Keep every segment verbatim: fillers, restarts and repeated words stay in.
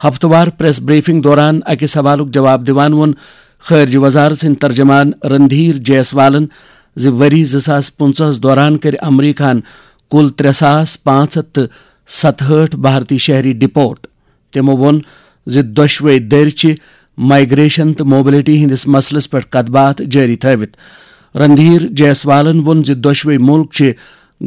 ہفتہٕ وار press briefing دوران اکہِ سوالُک جواب دِوان ووٚن خارجہ وزارت سٕنٛدۍ ترجمان رندھیر جیسوالن زِ ؤری زٕ ساس پٕنٛژٕہس دوران کٔرۍ امریکہن کُل ترٛےٚ ساس پانٛژھ ہتھ تہٕ ستہٲٹھ بھارتی شہری ڈپورٹ۔ تِمو ووٚن زِ دۄشوے دٔرۍ چھِ مائیگریشن تہٕ موبلٹی ہٕنٛدِس مسلس پٮ۪ٹھ کتھ باتھ جٲری تھٲوِتھ۔ رندھیر جیسوالن ووٚن زِ دۄشوے مُلک چھِ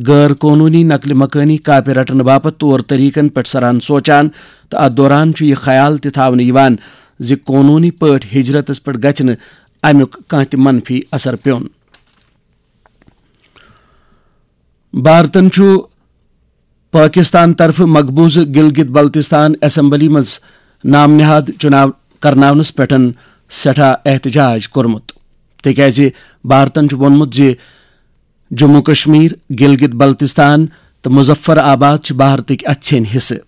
غٲر قونوٗنی نقل مکٲنی کاپہِ رٹنہٕ باپتھ طور طریقن پٮ۪ٹھ سران سونچان تہٕ اتھ دوران چھُ یہِ خیال تہِ تھاونہٕ یِوان زِ قونوٗنی پٲٹھۍ ہجرتس پٮ۪ٹھ گژھِ نہٕ امیُک کانٛہہ تہِ منفی اثر پیوٚن۔ بھارتن چھُ پٲکِستان طرفہٕ مقبوضہٕ گلگت بلتستان اسمبلی منٛز نام نہاد چُناو کرناونس پٮ۪ٹھ سٮ۪ٹھاہ احتجاج کوٚرمُت، تِکیازِ بھارتن چھُ ووٚنمُت زِ جموں کشمیر، گلگت بلتستان تہٕ مظفر آباد چھِ بھارتٕکۍ اَژھیٚنۍ حصہٕ۔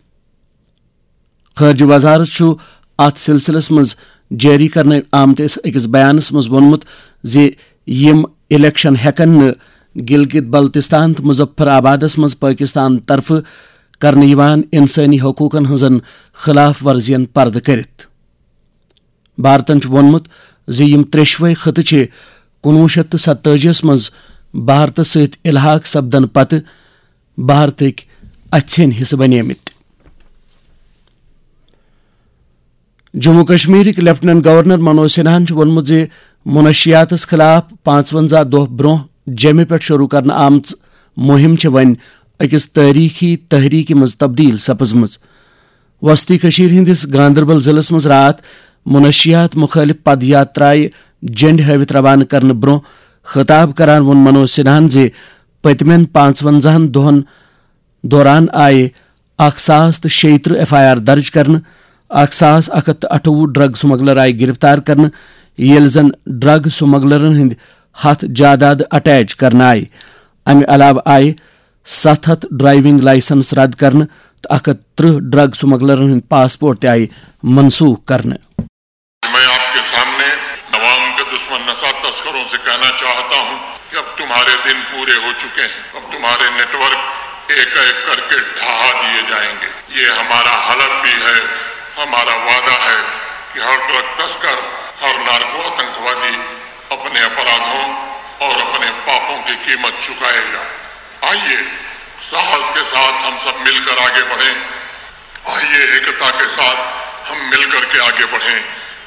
خارجہ وزارت چھُ اتھ سلسلس منٛز جٲری کرنہٕ آمتِس أکِس بیانس منٛز ووٚنمُت زِ یِم الیکشن ہٮ۪کن نہٕ گلگت بلتستان تہٕ مظفر آبادس منٛز پٲکستان طرفہٕ کرنہٕ یِوان انسٲنی حقوقن ہٕنٛزن خلاف ورزین پردٕ کٔرِتھ۔ بھارتن چھُ ووٚنمُت زِ یِم ترٛیشوے خطہٕ چھِ کُنوُہ شیٚتھ تہٕ ستٲجی یس منٛز بھارتس سۭتۍ الحاق سپدنہٕ پتہٕ بھارتٕکۍ اَژھیٚنۍ حصہٕ بنیمٕتۍ۔ جموں کشمیرٕکۍ لیفٹیننٹ گورنر منوج سنہاہن چھُ ووٚنمُت زِ منشیاتس خلاف پانٛژونزاہ دۄہ برونٛہہ جیٚمہِ پٮ۪ٹھ شروع کرنہٕ آمژ مُہِم چھِ وۄنۍ أکِس تٲریخی تحریکہِ منٛز تبدیل سپٕزمٕژ۔ وسطی کشمیر ہٕنٛدِس گاندربل ضلعس منٛز راتھ منشیات مخالف پد یاترایہِ جنڈ ہٲوِتھ روانہٕ کرنہٕ برونٛہہ خطاب کران ووٚن منوج سنہاہن زِ پٔتمٮ۪ن پانٛژونزاہن دۄہن دوران آیہِ اکھ ساس تہٕ شیٚیہِ ترٕٛہ ایف آئی آر درج کرنہٕ، اکھ ساس اکھ ہتھ تہٕ اَٹھووُہ ڈرگ سمگلر آیہِ گرفتار کرنہٕ، ییٚلہِ زن ڈرگ سمگلرن ہٕنٛدۍ ہتھ جاداد اٹیچ کرنہٕ آیہِ۔ امہِ علاوٕ آیہِ ستھ ہتھ ڈرائیونگ لائسنس رد کرنہٕ تہٕ اکھ ہتھ ترٕٛہ ڈرگ سمگلرن ہٕنٛدۍ پاسپورٹ تہِ آیہِ منسوخ کرنہٕ۔ میں آپ کے سامنے عوام کے دشمن نشہ تسکروں سے کہنا چاہتا ہوں کہ اب تمہارے دن پورے ہو چکے ہیں، اب تمہارے نیٹورک ایک ایک کر کے ڈھہا دیے جائیں گے۔ یہ ہمارا حلف بھی ہے، ہمارا وعدہ ہے کہ ہر ڈرگ تسکر، ہر نارکو آتنکوادی اپنے اپرادھوں اور اپنے پاپوں کی قیمت چکائے گا۔ آئیے، ساہس کے ساتھ ہم سب مل کر آگے بڑھیں۔ آئیے، ایکتا کے ساتھ ہم مل کر کے آگے بڑھیں۔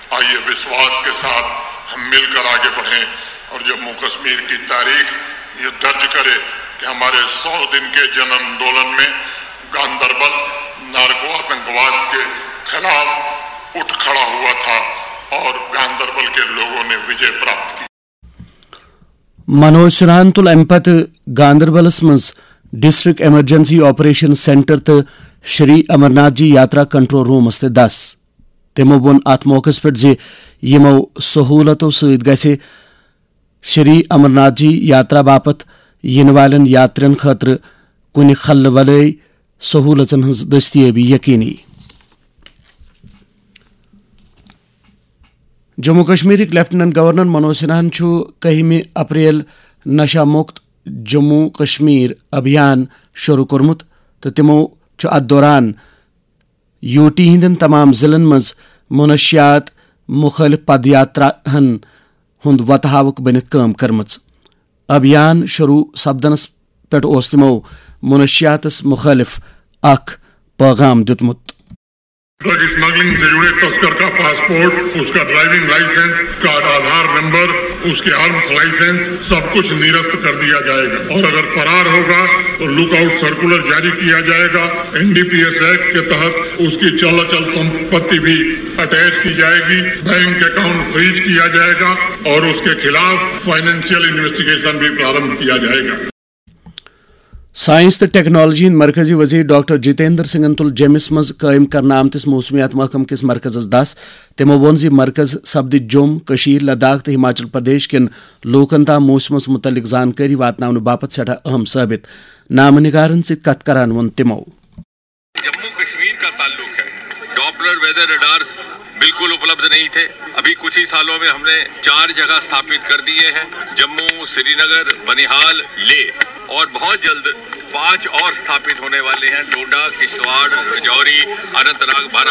آئیے، وشواس کے ساتھ ہم مل کر آگے بڑھیں اور جموں کشمیر کی تاریخ یہ درج کرے کہ ہمارے سو دن کے جن آندولن میں گاندربل نارکو آتنکواد کے خلاف اٹھ کھڑا ہوا تھا اور گاندربل کے لوگوں نے وجے پراپت کی۔ منوج سنہاہن تُل امہِ پتہٕ گاندربلس منٛز ڈسٹرکٹ ایمرجنسی آپریشن سینٹر تہٕ شری امرناتھ جی یاترا کنٹرول رومس تہِ دس۔ تِمو ووٚن اتھ موقعس پٮ۪ٹھ زِ یِمو سہولتو سۭتۍ گژھِ شری امرناتھ جی یاترا باپتھ یِنہٕ والٮ۪ن یاترین خٲطرٕ کُنہِ خلہٕ ولٲے سہولژن ہٕنٛز دٔستیٲبی یقینی۔ جموں کشمیرٕکۍ لیفٹیننٹ گورنر منوج سنہاہن چھُ کٔہمہِ اپریل نشہ مکت جموں کشمیر ابھیان شروع کوٚرمُت تہٕ تِمو چھُ اتھ دوران یو ٹی ہٕنٛدٮ۪ن تمام ضلعن منٛز منشیات مخالف پد یاتراہن ہُنٛد وتہٕ ہاوُک بٔنِتھ کٲم کٔرمٕژ۔ ابھیان شروع سپدنس پٮ۪ٹھ اوس تِمو منشیاتس مخالف اکھ پیغام دیُتمُت۔ ڈرگ اسمگلنگ سے جڑے تسکر کا پاسپورٹ، اس کا ڈرائیونگ لائسنس، اس کا آدھار نمبر، اس کے آرمز لائسنس، سب کچھ نرست کر دیا جائے گا اور اگر فرار ہوگا تو لک آؤٹ سرکولر جاری کیا جائے گا۔ N D P S act کے تحت اس کی چل اچل سمپتی بھی اٹیچ کی جائے گی، بینک اکاؤنٹ فریز کیا جائے گا اور اس کے خلاف فائنینشیل انویسٹیگیشن بھی پرارمبھ کیا جائے گا۔ سائنس تہٕ ٹیکنالوجی ہٕنٛدۍ مرکزی وزیر ڈاکٹر جتیندر سنگھن تُل جیٚمِس منٛز قٲیِم کرنہٕ آمتِس موسمیات محکمہٕ کِس مرکزس دس۔ تِمو ووٚن زِ مرکز سپدِ جوٚم، کٔشیٖر، لداخ تہٕ ہماچل پردیش کٮ۪ن لوٗکن تام موسمس مُتعلق زانکٲری واتناونہٕ باپتھ سٮ۪ٹھاہ اہم ثٲبِت۔ نامہٕ نگارن سۭتۍ کتھ کران ووٚن تِمو۔ جموں کشمیر کا تعلق ہے۔ ڈاپلر ویدر ریڈارز بالکل اپلبدھ نہیں تھے۔ ابھی کچھ ہی سالوں میں ہم نے چار جگہ استھاپت کر دیے ہیں، جموں، سری نگر، بنیہال، لے، اور بہت جلد पांच और स्थापित होने वाले हैं, डोडा, किश्तवाड़, राजौरी, अनंतनाग, बारा।